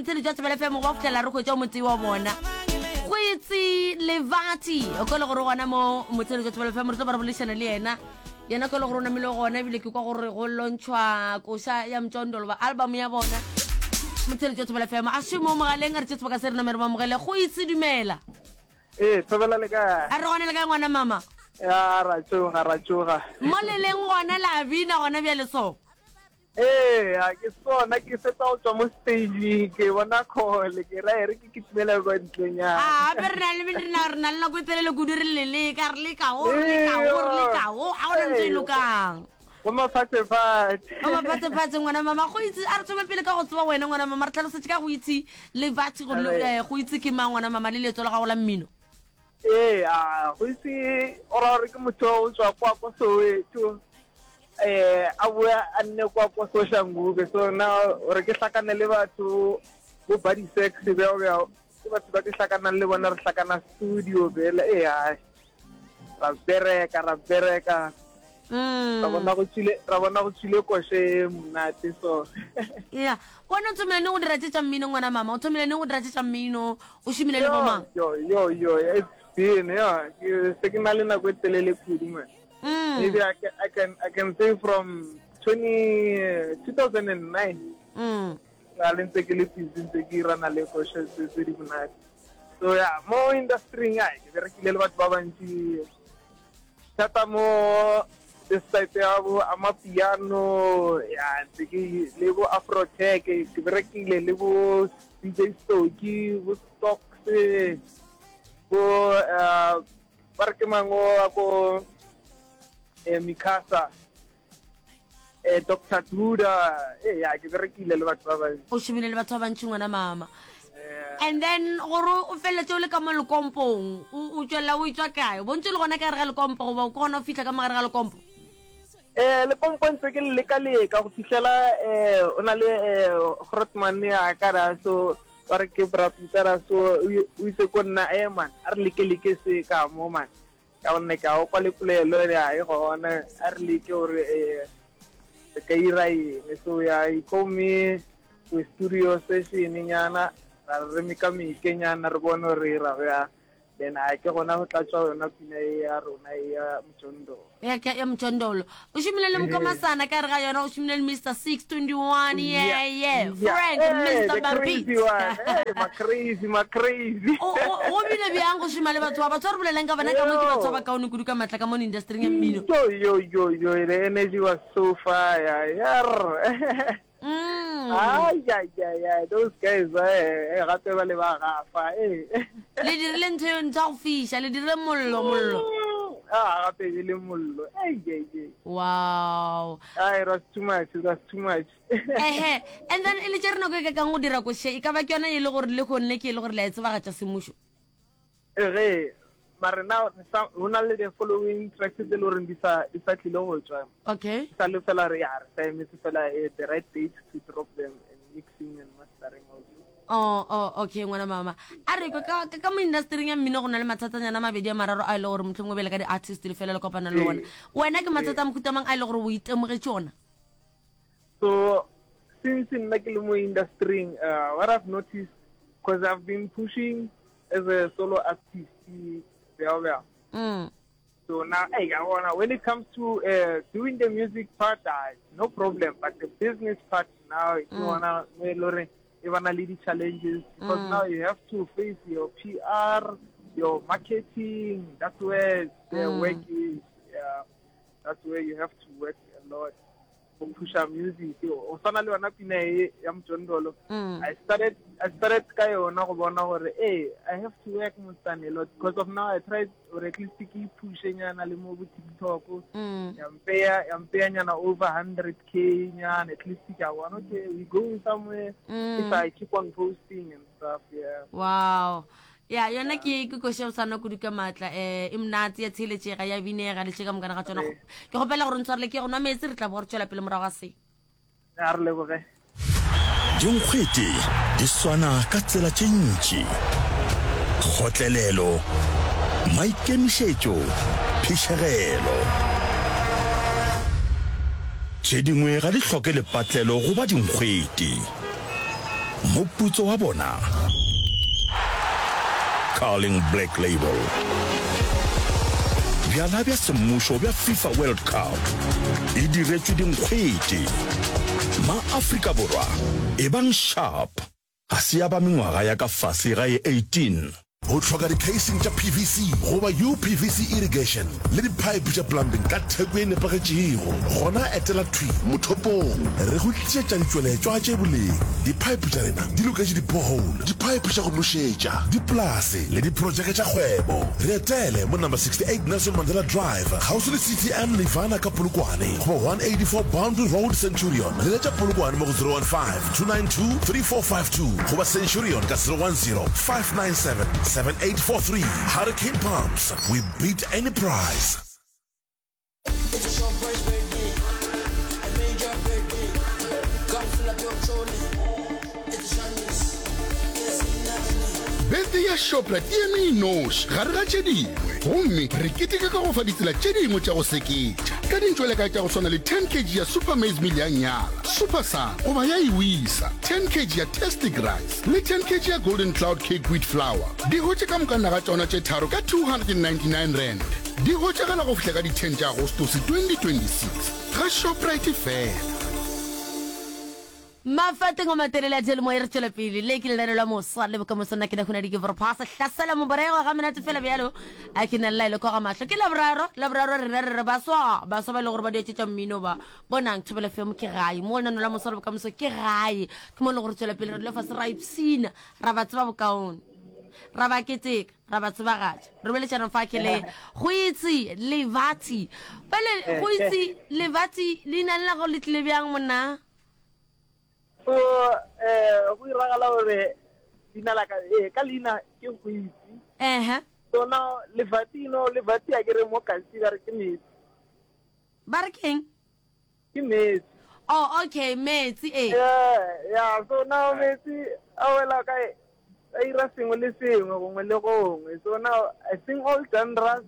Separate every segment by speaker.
Speaker 1: Motheletši wa Thobela FM go ba fihlela re hwetša o motee wa bona. Go itse Levati o ka le gore gona mo Motheletši wa Thobela FM re tlo ba re boledišana le yena. Yena ka le gore o namile gona ebile ke kwa gore go lontšhwa koša ya Mtondolo ba album ya bona. Motheletši wa Thobela FM a še mo mogaleng a re tše sebaka se re name re ba amogele. Go itse dumela.
Speaker 2: Ee, Thobela le kae?
Speaker 1: A re gona le kae ngwana mama?
Speaker 2: Ya, ra tsoga, ra tsoga.
Speaker 1: Mo le leng gona la bina gona bjale so.
Speaker 2: Ee, a ke sona ke fetsa go tswa mo stage ke bona call ke ra e re ke kitimela kwa ntlenyana.
Speaker 1: A gape re na le re na re na le nako e telele kudu re le leka re leka go re leka go re leka go ga gona ntho e lokang.
Speaker 2: Go mafatshefatshe.
Speaker 1: Go mafatshefatshe ngwana mama go itse a re thome pele ka go tseba wena ngwana mama re tlhalosetse ka go itse le batho gore eh, go itse ke mang ngwana mama le leetso la gago la mmino.
Speaker 2: Ee, a go itse o ra gore ke motho o tswa kwa ko Soweto eh a boa a nne kwa ko Soshanguve so na gore ke hlakane le batho bo body sex bjao bjao ke batho ba ke hlakanang le bona re hlakana studio bele ee ai ra bereka ra bereka
Speaker 1: Mm.
Speaker 2: ra bona go tswile ra bona go tswile koše e monate so
Speaker 1: ya wena o thomile neng go dira tše tša mmino ngwana mama o thomile neng go dira tše tša mmino o šomile le bomang
Speaker 2: yo yo yo it's been yeah ke se ke na le nako e telele kudu man
Speaker 1: Mm.
Speaker 2: maybe I can, I can I can say from 20 2009
Speaker 1: Mm.
Speaker 2: la le ntse ke le busy ntse ke irana le koše tse tse di monate so ya mo industry-ing ai ke berekile le batho ba bantši thata mo this side ya bo amapiano ya ntse ke le bo afrotech ke berekile le bo DJ Stoki bo Stocks bo eh, ba re ke mang o wa ko eh, Mikasa eh, Doctor Duda eh, ya ke berekile le batho ba bantši
Speaker 1: o šomile le batho ba bantši ngwana mama
Speaker 2: Eh,
Speaker 1: and then gore o feleletse o le ka mo lekompong o o tswelela o etswa kae o bontse le gona ka gare ga lekompo goba o ke gona o fitlha ka mo gare ga lekompo
Speaker 2: Eh, lekompo ntse ke le leka-leka go fitlhela eh o na le eh Grootman ya ka ra so ba re ke bra Peter so o o itse ko nna eh man a re leke-leke se ka mo man Ka gonne ke a o kwa le polelo ya e gona a re leke gore eh, re ka ira eng so ya he call me to studio session nyana ra re mekameke nyana re bone gore re ira bjang then a ke gona go tla tswa yona pina e ya rona e ya mjondolo
Speaker 1: ya ka ya mjondolo o šomile le mokomasana ka re ga yona o šomile le mr 621 yeah yeah frank
Speaker 2: Hey,
Speaker 1: mr
Speaker 2: the
Speaker 1: Barbie
Speaker 2: crazy one. Hey, ma crazy, ma crazy.
Speaker 1: O- o- go bile bjang go šoma le batho ba batho ba re bolelang ka bona ka mo ke batho ba bakaone kudu ka maatla ka mo industryng ya mmino
Speaker 2: Yo, yo, yo, yo, the energy was so fire. Yeah.
Speaker 1: Mm.
Speaker 2: Ay, ay, ay, ay, those guys, eh, eh, gape ba le ba gafa, eh.
Speaker 1: le dirile ntho eo ntho ya go fiša le dirile mollo mollo
Speaker 2: Ah, gape e le mollo. Ei, ei, ei.
Speaker 1: wow
Speaker 2: Ay, it was too much, it was too much.
Speaker 1: Ehe, and then e le tšere nako e kakang go dira koše, e ka ba ke yona e le gore le gonne ke e le gore le a e tsebagatša semmušo?
Speaker 2: Ge, mare now go na le the following tracks tse le goreng di sa di sa tlile go tswa.
Speaker 1: Okay.
Speaker 2: Sa le fela re ya re sa emetse fela eh, the right date to drop them and mixing and mastering also.
Speaker 1: Oh, oh, okay ngwana mama. A re ka ka mo industry ya mmino go na le mathatanyana a mabedi a mararo a e le gore mohlomongwe bele ka di-artist le fela le kopana le ona. Wena ke mathata a mohuta mang a e le gore o itemogetše ona?
Speaker 2: So since nna ke le mo industry uh, what I've noticed because I've been pushing as a solo artist bjao bjao.
Speaker 1: Mm.
Speaker 2: So now, hey, I wanna, when it comes to uh, doing the music part, uh, no problem. But the business part now, mm. you wanna, e ba na le di-challenges because mm. now you have to face your PR, your marketing. That's where the mm. work is. Yeah, that's where you have to work a lot. Go pusha music. O tshwana le yona pina e ya Mjondolo.
Speaker 1: Mm.
Speaker 2: I started I started ka yona go bona gore eh I have to work mosane a lot because of now I tried or at least ke pushe nyana le mo bo TikTok.
Speaker 1: Mm.
Speaker 2: Ya mpeya ya mpeya nyana over 100k nyana at least ke a bona okay we going somewhere
Speaker 1: mm.
Speaker 2: if I keep on posting and stuff yeah.
Speaker 1: Wow. Ya yona ke ke koša o sana kudu ka maatla eh e monate ya tsheletšega ya binega le tše ka mokana ga tsona ke kgopela gore ntshwarele ke go nwa meetse re tla bo re tšwela pele morago ga se
Speaker 2: a re leboge
Speaker 3: Dinkgwete di swana ka tsela tše ntši. Kgotlelelo, maikemišetšo, phišegelo. Tše dingwe ga di hloke lepatlelo go ba dinkgwete. Moputso wa bona? Carling Black Label. Bjala bja semmušo bja FIFA World Cup e diretšwe dinkgwete. Ma-Afrika Borwa, ebang sharp! Ga se ya ba mengwaga ya ka fase ga ye 18.
Speaker 4: O hloka di-casing tša PVC goba UPVC irrigation le di-pipe tša plumbing ka theko ye nepagetšego? Gona etela thwi mothopong. Re go tlišetša ditšweletšwa tše boleng. Di-pipe tša rena di loketše di-borehole, di-pipe tša go nošetša, dipolase le diprojeke tša kgwebo. Re etele mo number 68 Nelson Mandela Drive, kgauswi le CTM Nirvana ka Polokwane goba 184 Boundary Road, Centurion. Leletša Polokwane mo go 015 292-3452 goba Centurion ka 010-597-7843. Hurricane Pumps, we beat any price.
Speaker 5: Birthday ya Shoprite e eme e noši gare ga tše dingwe, gomme re keteka ka go fa ditsela tše dingwe tša go seketša ka dintšwelekae tša go swana le 10 kg ya Super Maize Meal ya Nyala. Super Sun goba ya Iwisa, 10 kg ya Tastic Rice le 10 kg ya Golden Cloud Cake Wheat Flour. Di hwetše ka moka naga tšona tše tharo ka R299. Di hwetšagala go fihla ka di 10 tša Agostose 2026 ga Shoprite fela.
Speaker 1: Mafateng a matelele a diyalemoya re tšwela pele le ke lenaneo la moswa le bokamoso nna ke na hunadi ke vorphasa hlasela moborego ga menate fela bjalo a ke na le laelo kwa ga mahlo ke laboraro laboraro rena re re baswa baswa ba e le gore ba dietšetša mmino ba Bonang, Thobela FM ke gae, mo lenaneo la Moswa le Bokamoso ke gae. Ke mo e le gore tswela pele re dula fase ra ipshina, ra ba tseba bokaone, ra ba keteka, ra ba tsebagatša. Re boletšana fa ke le go itse Levathi. Bjale go itse Levathi, leina le la gago le tlile bjang monna?
Speaker 2: So eh go iragala gore leina la ka eh ka leina ke go itse.
Speaker 1: Ehe.
Speaker 2: So now Levathi no Levathi a ke re mo kasi ba re ke metsi.
Speaker 1: Ba re keng?
Speaker 2: Ke metsi.
Speaker 1: Oh, okay, metsi e.
Speaker 2: Yeah, yeah, so now metsi a wela kae? A ira sengwe le sengwe gongwe le gongwe. So now I sing all genres.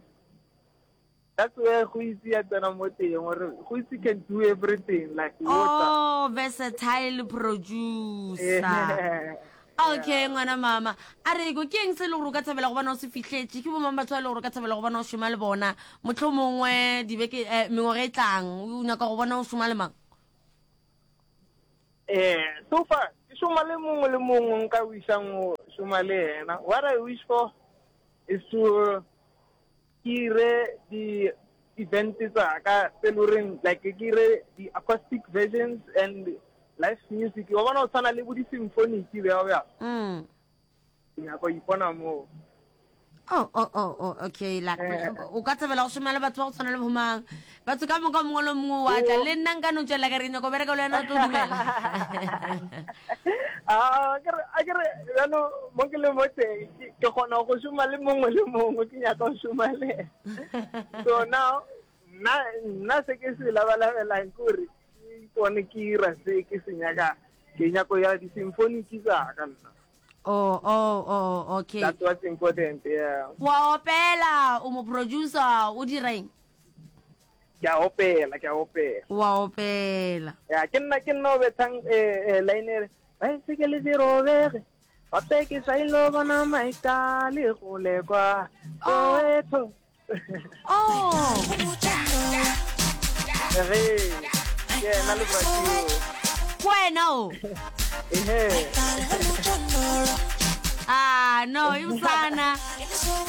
Speaker 2: That's where go itse ya tsena mo teng gore go itse can do everything like water.
Speaker 1: Oh, versatile producer.
Speaker 2: Yeah.
Speaker 1: Okay, ngwana mama. A re ko ke eng se e le gore o ka thabela go bona o se fihletše? Ke bomang batho ba e le gore o ka thabela go bona o šoma le bona? Mohlomongwe dibeke eh, mengwaga e tlang, o nyaka go bona o šoma le mang?
Speaker 2: Eh, so far ke šoma le mongwe le mongwe nka wishang go šoma le yena. What I wish for is to ke ire di event tsa ka tse le goreng like ke ire di acoustic versions and live music wa bona o tshwana le bo di symphonic bjao bjao
Speaker 1: mm.
Speaker 2: ke nyaka go ipona moo.
Speaker 1: Oh, oh, oh, oh, okay like
Speaker 2: Eh.
Speaker 1: o ka thabela go šoma le batho ba go tshwana le bomang batho ka moka mongwe le mongwe wa tla le nna nka no tswelela ka re ke nyaka go bereka le wena o tlo dumela.
Speaker 2: Ah, a ke re a ke re bjalo mo ke le mo teng ke ke kgona go šoma le mongwe le mongwe ke nyaka go šoma le ena. So now nna nna se ke se labalabelang ke gore ke ipone ke ira se ke se nyakang. Ke nyako ya di-symphonic tsa ka nna.
Speaker 1: Oh, oh, oh, okay.
Speaker 2: That's what's important, yeah.
Speaker 1: Wa opela, o mo producer, o dira eng?
Speaker 2: Ke a opela, ke a opela.
Speaker 1: Wa opela.
Speaker 2: Ya, ke nna ke nna o bethang eh, eh, line e re, baesekele di robege, gape ke sa ilo bona maika le gole kwa
Speaker 1: Oh.
Speaker 2: Soweto.
Speaker 1: Oh.
Speaker 2: Ge, ke yena Lefatši o.
Speaker 1: Ke wena o.
Speaker 2: Ehe.
Speaker 1: Ah, no, e bosana.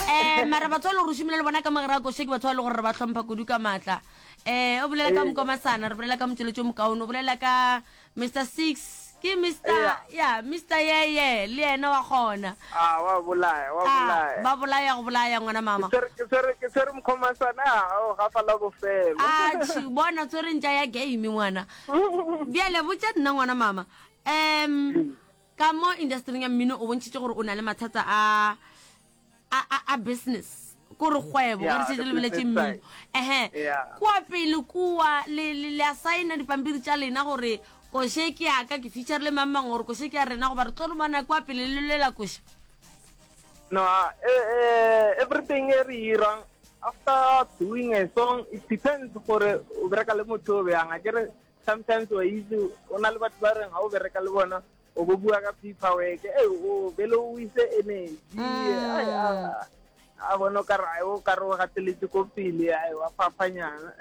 Speaker 1: Eh, mara batho ba e le gore o šomile le bona ka mogare a koše ke batho ba e le gore re ba hlompha kudu ka maatla. Eh, o bolela ka mokomasana, re bolela ka motšweletši o mokaone, o bolela ka Mr Six, ke Mr
Speaker 2: Yeah.
Speaker 1: ya Mr Yeye, le yena wa kgona.
Speaker 2: Ah, wa bolaya, wa
Speaker 1: Ah,
Speaker 2: bolaya.
Speaker 1: ba bolaya go bolaya ngwana mama.
Speaker 2: Ke tshwere- ke tshwere ke tshwere mokgomasana a o gafa la bofelo.
Speaker 1: Ah, tšhi, bona tshwere ntša ya game ngwana. Bjale botša nna ngwana mama. Um Ka mo industering ya mmino o bontšhitše gore o na le mathata a a a, a business kore kgwebo ge re
Speaker 2: Yeah,
Speaker 1: šetše
Speaker 2: the
Speaker 1: lebeletše
Speaker 2: business
Speaker 1: mmino
Speaker 2: side.
Speaker 1: ehe
Speaker 2: Yeah.
Speaker 1: kua pele kua le le le a saena dipampiri tša lena gore koše ke ya ka ke feature le mang mang gore koše ke ya rena goba re tlo romana kua pele le lwela koše
Speaker 2: No, uh, eh, eh, everything e re irang after doing a song it depends gore o bereka le motho o bjang. Akere sometimes wa itse o na le batho ba reng ga o bereka le bona. O bo bua ka paperwork, e o bele o ise energy. Ai, a a bona o ka re o ka re o gateletse ko pele, ai wa fapanyana.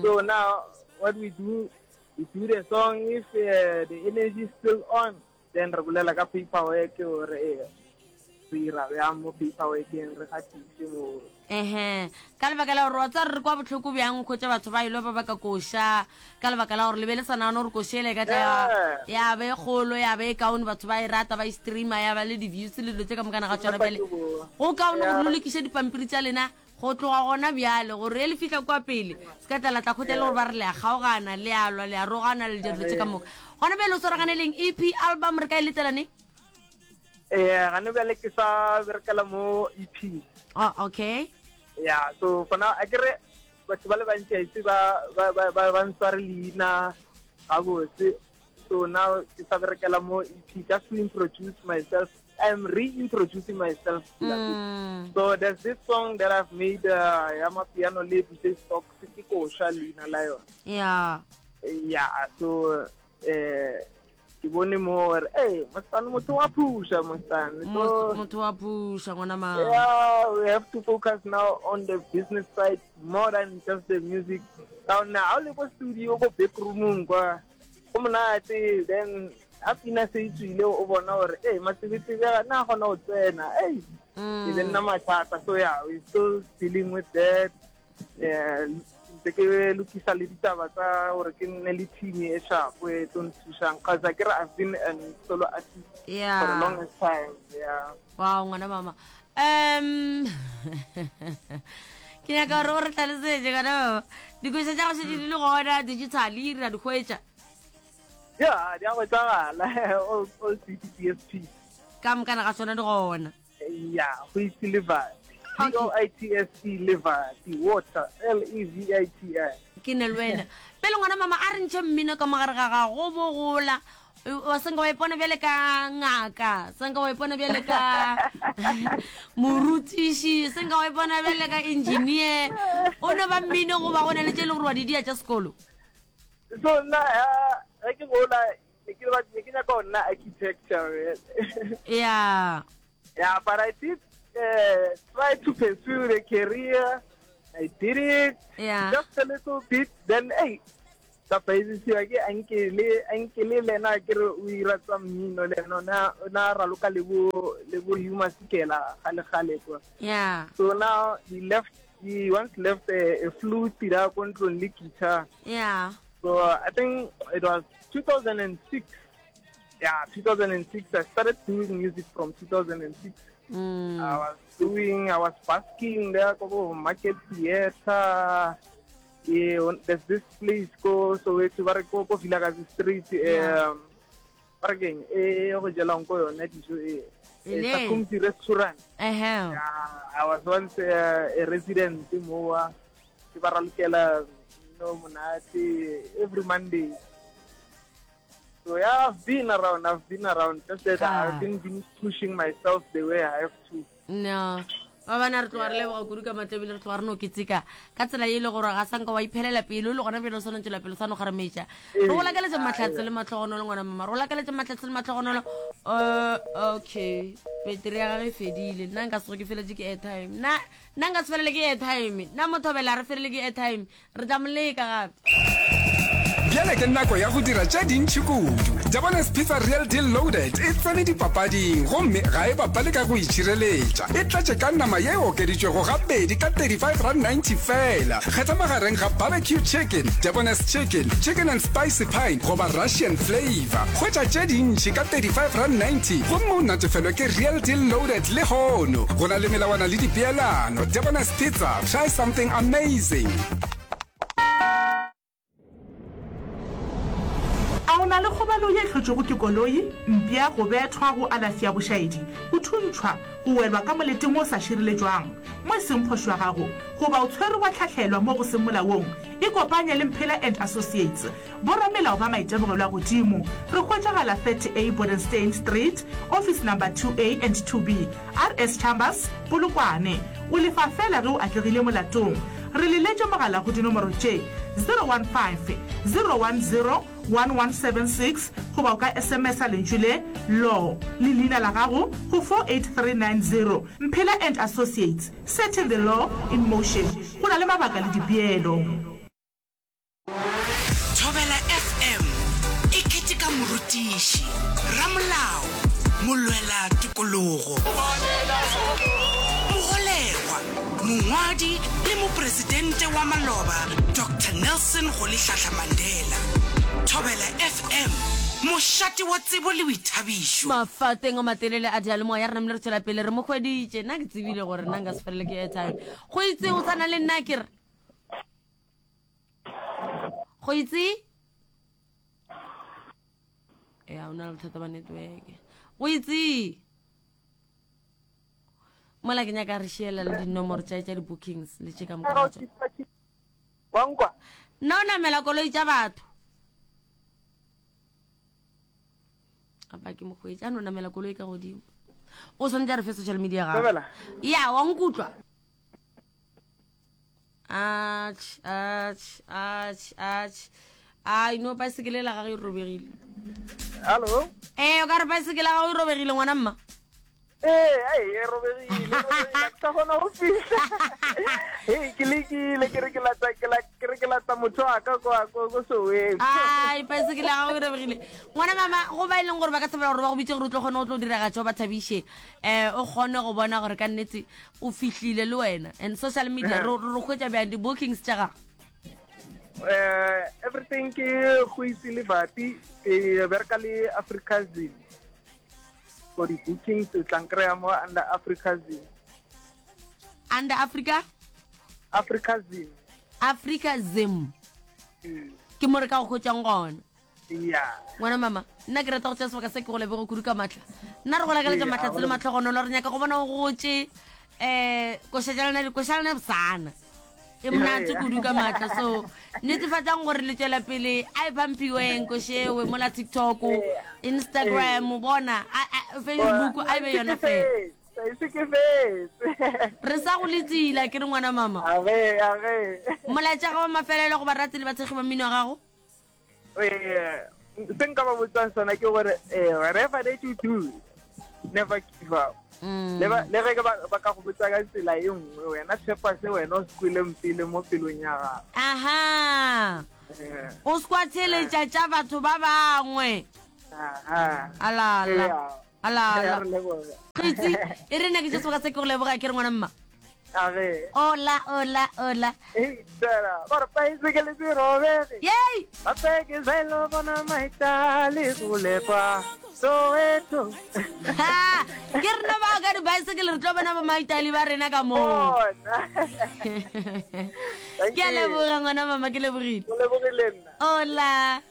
Speaker 2: So now what we do, we do the song if uh, the energy is still on, then re bolela ka paperwork gore eh, re ira bjang mo paperworkeng re gatise mo
Speaker 1: Ehe, ka lebaka la gore wa tseba re kwa bohloko bjang go tša batho ba ilo ba baka koša ka lebaka la gore le be le sa nagane gore koša ele e ka tla ya- ya ba e kgolo ya ba e kaone batho ba e rata ba e streama ya ba le di-views le dilo tse ka mokana ga tsona bjale go kaone gore le lokiše dipampiri tša lena go tloga gona bjale gore e le fihla kwa pele se ka tla la tla kgotla e le gore ba re le a kgaogana le a lwa le a rogana le dilo tse ka moka gona bjale o swaragane leng ep album re ka e letela neng
Speaker 2: Eh, gane bjale ke sa berekela mo EP.
Speaker 1: Oh, okay.
Speaker 2: Yeah, so for now, a kere batho ba le bantsi a itse ba ba ba ba ba ntshware leina gabotse. So now ke sa berekela mo EP just to introduce myself. I'm reintroducing myself. Mm. So there's this song that I've made uh, ya mapiano le DJ Stocks ke kosha leina la yona.
Speaker 1: Yeah.
Speaker 2: Yeah, so eh ke bone mo gore ee mosane motho wa phusha mosane
Speaker 1: so motho wa phusha ngwana ma
Speaker 2: yeah we have to focus now on the business side more than just the music ka gonne ga o le ko studio ko back roomong kwa go monate then a pina se e tswile o bona gore ee matsebetsebe a na kgona go tsena ei e be nna mathata so yeah we still dealing with that Eh, ntse ke lokisa le ditaba tsa gore ke nne le team e sharp e tlo nthusang cause a kere I've been an solo artist
Speaker 1: yeah.
Speaker 2: for the longest time yeah
Speaker 1: wow ngwana mama um ke nyaka gore o re tlhalosetse ngwana mama dikoša tša go šetse di le gona digitally re a di hwetša
Speaker 2: yeah di a hwetšagala all, all CDPSP
Speaker 1: ka mokana ga tsona di gona
Speaker 2: Ya, go itse Levati. G O I T S E Levati, water, L E V I T I.
Speaker 1: Ke ne le wena. Pele ngwana mama a re ntšhe mmino ka mogare ga gago go bogola. Wa senka wa ipona bjale ka ngaka, senka wa ipona bjale ka morutiši, senka wa ipona bjale ka engineer. O no ba mmino goba go na le tše e le gore wa di dia tša sekolo.
Speaker 2: So nna ge ke gola ne ke ne ke nyaka go nna architecture
Speaker 1: yeah
Speaker 2: yeah but i did uh, try to pursue the career i did it
Speaker 1: yeah.
Speaker 2: just a little bit then hey ka paisisiwa ke ankele ankele le ena ke re o ira tsa mmino le ena o na raloka le bo le bo Huma Sikela gale gale kwa
Speaker 1: yeah
Speaker 2: so now he left he once left a, a flute da ko ntlong le guitar
Speaker 1: yeah
Speaker 2: So I think it was 2006. Yeah, 2006. I started doing music from 2006. Mm. I was doing, I was basking there, go market theater. Yeah, there's this place go so it's ba ko ko Vilakazi Street. Um, ba re keng e go jelang ko yone dijo e. Sakumti restaurant.
Speaker 1: Uh -huh.
Speaker 2: Yeah, I was once uh, a resident moa. Ke ba ralokela mmino monate every Monday. So yeah, I've been around, I've been around. Just that I haven't been pushing myself the way I have to.
Speaker 1: No. ba bana re tloga re leboga kudu ka matla ebile re tloga re no ketseka ka tsela e le gore ga sanka wa iphelela pele o le gona pele o swanong tswela pele o sa no kgarametša re go lakaletša mahlatse le matlhogonolo ngwana mama re go lakaletša mahlatse le matlhogonolo uh, okay peteri ya gage e fedile nna nka sego ke feletse ke airtime nna Nna nka se felele ke airtime. Nna Mothobela re felele ke airtime. Re tla mo leka gape.
Speaker 6: Bjale ke nako ya go dira tše dintši kudu. Jabones Pizza Real Deal Loaded e tsene dipapading gomme ga e bapale ka go itšhireletša. E tletše ka nama ye e okeditšwego gabedi ka R35.90 feela. Kgetha magareng ga Barbecue Chicken, Jabones Chicken, Chicken and Spicy Pine goba Russian Flavour. Hwetša tše dintši ka R35.90 gomme o natefelwe ke Real Deal Loaded lehono. Go na le melawana le dipeelano. Debonair's Pizza, try something amazing.
Speaker 7: A o na le kgobalo ye e hlotšwego ke koloi, mpša, go bethwa, go alafša bošaedi, go thuntšhwa, go welwa ka moleteng wo o sa šireletšwang, mo e seng phošo ya gago, goba o tshwerwe wa hlahlelwa mo go seng molaong? Ikopanye le Mphela and Associates. Boramelao ba maitemogelo a godimo. Re hwetšagala 30A Bodenstein Street, Office Number 2A and 2B, RS Chambers, Polokwane. O lefa feela ge o atlegile molatong. Re leletše mogala go dinomoro tše, 015 010 1176 goba o ka SMS-a lentšu le, Law, le leina la gago go 48390. Mphela and Associates, setting the law in motion. Go na le mabaka le dipeelo.
Speaker 8: Thobela FM e keteka morutiši, ramolao, molwela tokologo, mogolegwa, mongwadi le mopresidente wa maloba Doctor Nelson Rolihlahla Mandela. Thobela FM, mošate wa tsebo le boithabišo.
Speaker 1: Mafateng a matelele a diyalemoya re namile re tšwela pele re mo hweditše. Nna ke tsebile gore nna nka se felele ke airtime. Go itse o tshwana le nna ke re. Go itse? Ya o na le bothata ba network. Go itse? Mola ke nyaka re šiela le dinomoro tša tša di-bookings le tše ka moka ga tšona.
Speaker 2: Wa nkwa?
Speaker 1: Nna o namela koloi tša batho. Apa ke mokgweetsi a no namela koloi ka godimo. O swanetše a re fe social media gago.
Speaker 2: Thobela.
Speaker 1: Ya, wa nkutlwa. Atšh, atšh, atšh, atšh. Ai, no paesekele la gagwe e robegile.
Speaker 2: Hallo?
Speaker 1: Ee, o ka re paesekele ya gago e robegile ngwana mma.
Speaker 2: Ee, ai, e robegile, e robegile, ha ke sa kgona go fihla. Hei, ke lekile, ke re ke lata, ke la, ke re ke lata motho wa ka kwa, ko, ko Soweto.
Speaker 1: Ai, paesekele ya gago e robegile. Ngwana mama, go ba e leng gore ba ka thabela gore ba go bitse gore o tlo kgone go tlo diragatša o ba thabiše. Eh, o kgone go bona gore ka nnete o fihlile le wena. And social media, re, re hwetša bjang di-bookings tša gago?
Speaker 2: Eh, everything ke go itse le Vati, ke bereka le Africa Zim. For di-bookings, o tla nkry-a mo under Africa Zim.
Speaker 1: Under Africa?
Speaker 2: Africa Zim.
Speaker 1: Africa Zim.
Speaker 2: Mm.
Speaker 1: Ke mo re ka go hwetšang gona.
Speaker 2: Ya.
Speaker 1: Ngwana mama, nna ke rata go tšea sebaka se ke go leboge kudu ka matla. Nna re go lakaletša
Speaker 2: Ee,
Speaker 1: mahlatse le mahlogonolo, re nyaka go bona o gotše um koša tša lena koša lena bosana. E monate kudu ka matla. So netefatsang gore le tšwela pele a e pampiweng košewe mola TikTok, Instagram, bona, a- a- Facebook a e be yona fela.
Speaker 2: Se ke fetse.
Speaker 1: Re sa go letsila ke re ngwana mama.
Speaker 2: Age, age.
Speaker 1: Molaetša ga wa mafelelo go barati le bathekgi ba mmino wa gago?
Speaker 2: Eh, se nka ba botsang sona ke gore eh, whatever that you do never give up mm. le ge ba ba ka go botsa ka tsela e nngwe wena tshepa se wena o se kweleng pele mo pelong ya gago
Speaker 1: aha
Speaker 2: eh.
Speaker 1: o se kwa theletša tša batho ba bangwe
Speaker 2: aha
Speaker 1: alala alala
Speaker 2: re leboga
Speaker 1: kgitsi e re nna ke tše sebaka se ke go leboga ke re ngwana mma
Speaker 2: Age.
Speaker 1: Hola, hola, hola.
Speaker 2: Hey, tsela. Ba re paesekele se robege.
Speaker 1: Yay!
Speaker 2: Gape ke zelo bona maitale go lepa Soweto.
Speaker 1: Ha! Ke rena ba ka dibaesekele re tlo bona ba maitale ba rena ka moo.
Speaker 2: Bona.
Speaker 1: Ke a leboga ngwana mama ke lebogile.
Speaker 2: O lebogile nna.
Speaker 1: Hola.